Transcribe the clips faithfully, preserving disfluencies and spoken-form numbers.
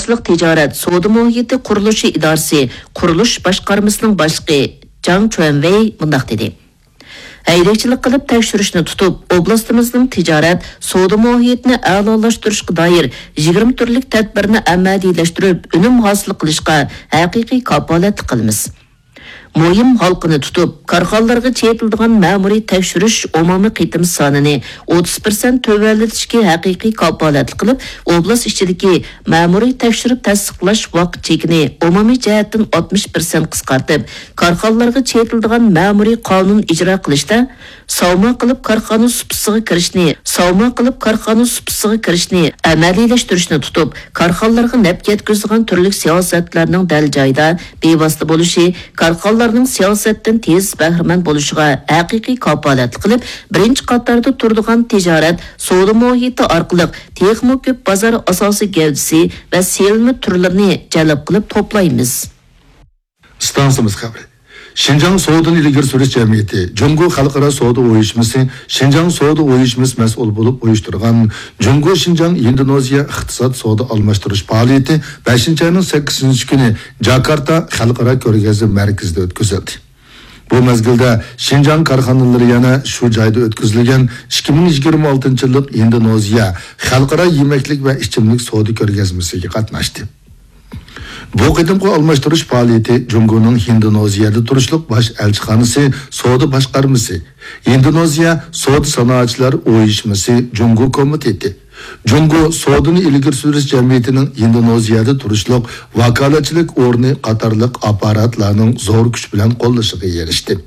تىجارەت سودا مۇھىتى قۇرۇلۇشى ئىدارىسى قۇرۇلۇش باشقارمىسىنىڭ باشلىقى جاڭ چۈەنۋېي مۇنداق دېدى: ھەيدەكچىلىك قىلىپ تەكشۈرۈشنى تۇتۇپ، ئوبلاستىمىزنىڭ تىجارەت سودا مۇھىتىنى ئەلالاشتۇرۇشقا دائىر يىگىرمە تۈرلۈك تەدبىرنى ئەمەلىيلەشتۈرۈپ، ئۈنۈم ھاسىل قىلىشقا ھەقىقىي كاپالەتلىك قىلىمىز. مۇھىم ھالقىنى تۇتۇپ، كارخانىلارغا چېتىلىدىغان مەمۇرىي تەكشۈرۈش ئومۇمىي قېتىم سانىنى ئوتتۇز پىرسەنت تۆۋەنلىتىشكە ھەقىقىي كاپالەتلىك قىلىپ، ئوبلاست ئىچىدىكى مەمۇرىي تەكشۈرۈپ تەستىقلاش ۋاقىت چېكىنى ئومۇمىي جەھەتتىن ئاتمىش پىرسەنت قىسقارتىپ، كارخانىلارغا چېتىلىدىغان مەمۇرىي قانۇن ئىجرا قىلىشتا ساۋما قىلىپ كارخانا سۇپىسىغا كىرىشنى، ساۋما قىلىپ كارخانا سۇپىسىغا كىرىشنى ئەمەلىيلەشتۈرۈشنى تۇتۇپ، كارخانىلارغا نەپ يەتكۈزىدىغان تۈرلۈك سىياسەتلەرنىڭ دەل جايىدا، بىۋاسىتە بولۇشى، كارخانىلارنىڭ سىياسەتتىن تېز بەھرىمەن بولۇشىغا ھەقىقىي كاپالەتلىك قىلىپ، بىرىنچى قاتاردا تۇرىدىغان تىجارەت سودا مۇھىتى ئارقىلىق تېخىمۇ كۆپ بازار ئاساسىي گەۋدىسى ۋە سېلىنما تۈرلىرىنى جەلپ قىلىپ توپلايمىز. ئىستانسىمىز خەۋىرى. شىنجاڭ سودىنى ئىلگىرى سۈرۈش جەمئىيىتى، جۇڭگو خەلقئارا سودا ئۇيۇشمىسى، شىنجاڭ سودا ئۇيۇشمىسى مەسئۇل بولۇپ ئۇيۇشتۇرغان جۇڭگو شىنجاڭ ھىندونېزىيە ئىقتىساد سودا ئالماشتۇرۇش پائالىيىتى بەشىنچى ئاينىڭ سەككىزىنچى كۈنى جاكارتا خەلقئارا كۆرگەزمە مەركىزىدە ئۆتكۈزۈلدى. بۇ مەزگىلدە شىنجاڭ كارخانىلىرى يەنە شۇ جايدا ئۆتكۈزۈلگەن ئىككى مىڭ يىگىرمە ئالتىنچى يىللىق ھىندونېزىيە خەلقئارا يېمەكلىك ۋە ئىچىملىك سودا كۆرگەزمىسىگە قاتناشتى. بۇ قېتىمقى ئالماشتۇرۇش پائالىيىتى جۇڭگونىڭ ھىندونېزىيەدە تۇرۇشلۇق باش ئەلچىخانىسى سودا باشقارمىسى، ھىندونېزىيە سودا سانائەتچىلەر ئۇيۇشمىسى جۇڭگو كومىتېتى، جۇڭگو سودىنى ئىلگىرى سۈرۈش جەمئىيىتىنىڭ ھىندونېزىيەدە تۇرۇشلۇق ۋاكالەتچىلىك ئورنى قاتارلىق ئاپپاراتلارنىڭ زور كۈچ بىلەن قوللىشىغا ئېرىشتى.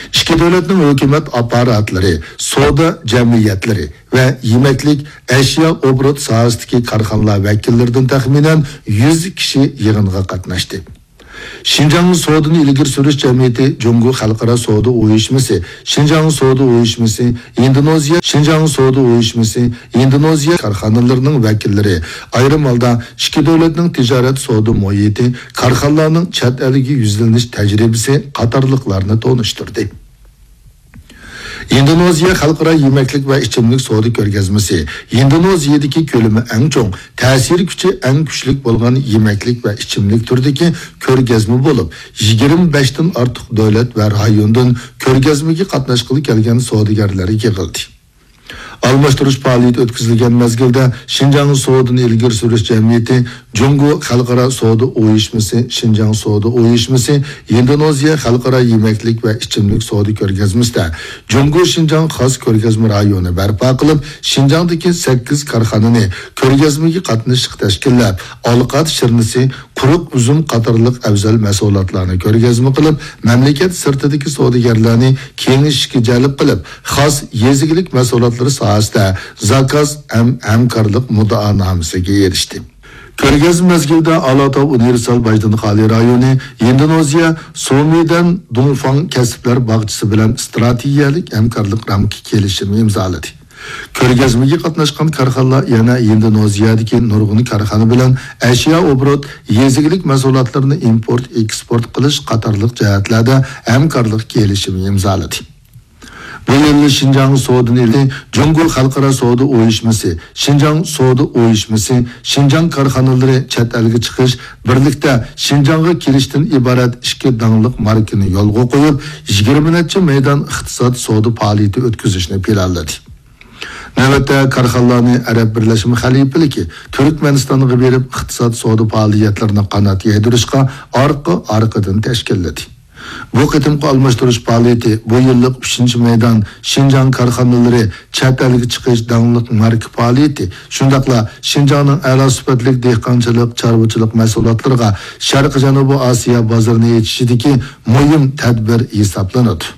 ئىككى دۆلەتنىڭ ھۆكۈمەت ئاپپاراتلىرى، سودا جەمئىيەتلىرى ۋە يېمەكلىك، ئەشيا ئوبوروت ساھەسىدىكى كارخانىلار ۋەكىللىرىدىن تەخمىنەن يۈز كىشى يىغىنغا قاتناشتى. شىنجاڭ سودىنى ئىلگىرى سۈرۈش جەمئىيىتى جۇڭگو خەلقئارا سودا ئۇيۇشمىسى، شىنجاڭ سودا ئۇيۇشمىسى، ھىندونېزىيە، شىنجاڭ سودا ئۇيۇشمىسى، ھىندونېزىيە كارخانىلىرىنىڭ ۋەكىللىرى، ئايرىم ھالدا ئىككى دۆلەتنىڭ تىجارەت سودا مۇھىتى، كارخانىلارنىڭ چەت ئەلگە يۈزلىنىش تەجرىبىسى قاتارلىقلارنى تونۇشتۇردى. ھىندونېزىيە خەلقئارا يېمەكلىك ۋە ئىچىملىك سودا كۆرگەزمىسى ھىندونېزىيەدىكى كۆلىمى ئەڭ چوڭ، تەسىر كۈچى ئەڭ كۈچلۈك بولغان يېمەكلىك ۋە ئىچىملىك تۈرىدىكى كۆرگەزمە بولۇپ، يىگىرمە بەشتىن ئارتۇق دۆلەت ۋە رايوندىن كۆرگەزمىگە قاتناشقىلى كەلگەن سودىگەرلەر يىغىلدى. ئالماشتۇرۇش پائالىيىتى ئۆتكۈزۈلگەن مەزگىلدە شىنجاڭ سودىنى ئىلگىرى سۈرۈش جەمئىيىتى، جۇڭگو خەلقئارا سودا ئۇيۇشمىسى، شىنجاڭ سودا ئۇيۇشمىسى، ھىندونېزىيە خەلقئارا يېمەكلىك ۋە ئىچىملىك سودا كۆرگەزمىسىدە جۇڭگو شىنجاڭ خاس كۆرگەزمە رايونى بەرپا قىلىپ، شىنجاڭدىكى سەككىز كارخانىنى كۆرگەزمىگە قاتنىشىشقا تەشكىللەپ، ئالقات شىرنىسى، قۇرۇق ئۈزۈم قاتارلىق ئەۋزەل مەھسۇلاتلارنى كۆرگەزمە قىلىپ، مەملىكەت سىرتىدىكى سودىگەرلەرنى كېڭىشىشكە جەلپ قىلىپ، خاس يېزا ئىگىلىك مەھسۇلاتلىرى ساھەسىدە زاكاز ھەم ھەمكارلىق مۇددىئانامىسىگە ئېرىشتى. كۆرگەزمە مەزگىلىدە ئالاتاۋ ئۇنىۋېرسال باجدىنخالى رايونى، ھىندونېزىيە سومىدەن دۇڭفاڭ كەسىپلەر باغچىسى بىلەن ئىستراتېگىيەلىك ھەمكارلىق رامكا كېلىشىمى ئىمزالىدى. كۆرگەزمىگە قاتناشقان كارخانىلار يەنە ھىندونېزىيەدىكى نۇرغۇن كارخانا بىلەن ئەشيا ئوبوروت، يېزا ئىگىلىك مەھسۇلاتلىرىنى ئىمپورت، ئېكسپورت قىلىش قاتارلىق جەھەتلەردە ھەمكارلىق كېلىشىمى ئىمزالىدى. بۇ يىل شىنجاڭ سودىنى ئىلى جۇڭگو خەلقئارا سودا ئۇيۇشمىسى، شىنجاڭ سودا ئۇيۇشمىسى، شىنجاڭ كارخانىلىرى چەت ئەلگە چىقىش، بىرلىكتە شىنجاڭغا كېلىشتىن ئىبارەت ئىككى داڭلىق ماركىنى يولغا قويۇپ، يىگىرمە نەچچە مەيدان ئىقتىساد سودا پائالىيىتى ئۆتكۈزۈشنى پىلانلىدى. نۆۋەتتە كارخانىلارنى ئەرەب بىرلەشمە خەلىپىلىكى تۈركمەنىستانغا بېرىپ، ئىقتىساد سودا پائالىيەتلىرىنى قانات يايدۇرۇشقا ئارقا-ئارقىدىن تەشكىللىدى. بۇ قېتىمقى ئالماشتۇرۇش پائالىيىتى بۇ يىللىق ئۈچىنچى مەيدان شىنجاڭ كارخانىلىرى چەت ئەلگە چىقىش داڭلىق ماركا پائالىيىتى، شۇنداقلا شىنجاڭنىڭ ئەلا سۈپەتلىك دېھقانچىلىق، چارۋىچىلىق مەھسۇلاتلىرىغا شەرقىي جەنۇبىي ئاسىيا بازىرىنى ئېچىشىدىكى مۇھىم تەدبىر ھېسابلىنىدۇ.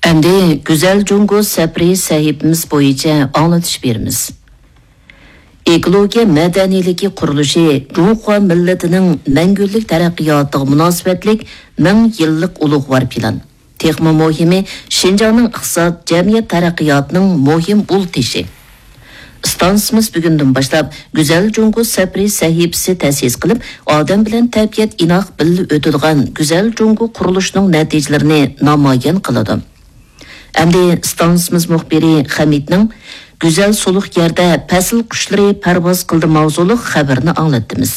ئەمدى گۈزەل جۇڭگو سەپىرى سەھىپىمىز بويىچە ئاڭلىتىش بېرىمىز. ئېكولوگىيە مەدەنىيلىكى قۇرۇلۇشى جۇڭخۇا مىللىتىنىڭ مەڭگۈلۈك تەرەققىياتىغا مۇناسىۋەتلىك مىڭ يىللىق ئۇلۇغۋار پىلان. تېخىمۇ مۇھىمى، شىنجاڭنىڭ ئىقتىساد، جەمئىيەت تەرەققىياتىنىڭ مۇھىم ئۇل تېشى. ئىستانسىمىز بۈگۈندىن باشلاپ گۈزەل جۇڭگو سەپىرى سەھىپىسى تەسىس قىلىپ، ئادەم بىلەن تەبىئەت ئىناق بىللە ئۆتىدىغان گۈزەل جۇڭگو قۇرۇلۇشىنىڭ نەتىجىلىرىنى نامايان قىلىدۇ. ئەمدى ئىستانسىمىز مۇخبىرى خەمىتنىڭ گۈزەل سۇلۇق يەردە پەسىل قۇشلىرى پەرۋاز قىلدى ماۋزۇلۇق خەۋىرىنى ئاڭلاتتىمىز.